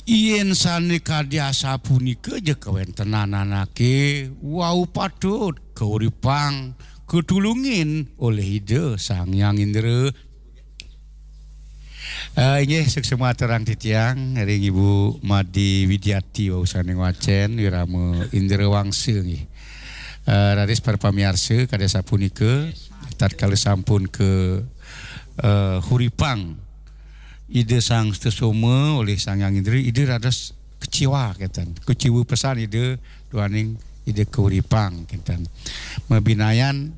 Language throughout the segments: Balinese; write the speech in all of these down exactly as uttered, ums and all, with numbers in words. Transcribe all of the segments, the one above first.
Yén sané kadi asapunika ja kawéntenan anaké wau patut kauripang, katulungin olih Ida Sang Hyang Indra. Eh, inggih, suksma aturang titiang ring Ibu Made Widiati wau sané ngwacén, wirama Indra Wangsa nggih. Eh, raris para pamiarsa, kadi asapunika, tatkala sampun ka, eh, huripang Ida Sang Sutasoma olih Sang Hyang Indra, Ida dados kecewa kénten. Kecewa pesan Ida duaning Ida kauripang kénten. Mabinayan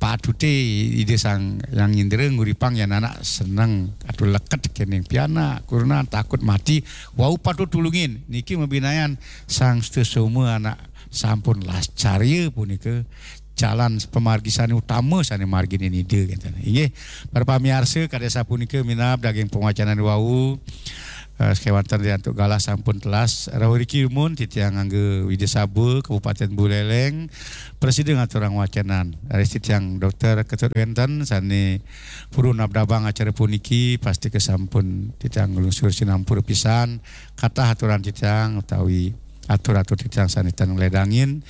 patuté Ida Sang Hyang Indra nguripang yan anak seneng, atur leket kéning pianak, kurenan takut mati, wau patut tulungin. Niki mabinayan Sang Sutasoma anak sampun lascarya punika jalan pamargi sané utama sané marginin Ida kénten. Inggih, para pamiarsa, kadi asapunika minab daging pawacanan wau, eh, sakéwanten ri antuk galah sampun telas. Rauh riki dumun titiang Angga Widya Saba, Kabupaten Buleleng, prasida ngaturang wacanan. Raris titiang Dokter Ketut Wénten sané purun abdabang acara puniki, pastika sampun titiang nglungsur sinampura pisan. Katah aturan titiang utawi atur-atur titiang sané tan ngledangin.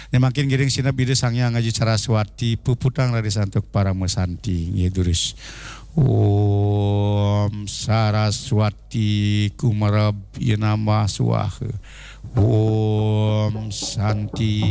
Né mangkin ngiring sineb Ida Sang Hyang Aji Saraswati, puputang raris antuk parama santi. Nggih, durus. Om Saraswati Kumarab Yanamah Swaha. Om Santi,